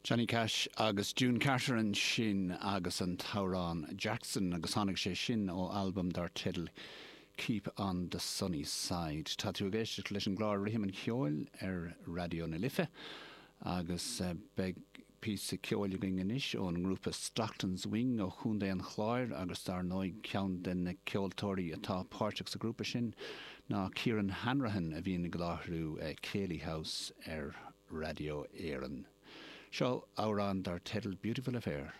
Johnny Cash agus June Carter ansin agus an t-amhrán Jackson agus tháinig sé sin ó albam dar teideal Keep on the Sunny Side. Tá tú ag éisteacht leis an gclár Rithim an Cheoil ar Raidió na Life agus beidh píosa ceoil againn anois ón ngrúpa Stockton's Wing ó Chontae an Chláir agus dar ndóigh ceann de na ceoltóirí atá páirteach sa ghrúpa sin ná Kieran Hanrahan a bhíonn ag láithriú Céilí House ar Raidió Éireann. Seo amhrán dar teideal Beautiful Affair.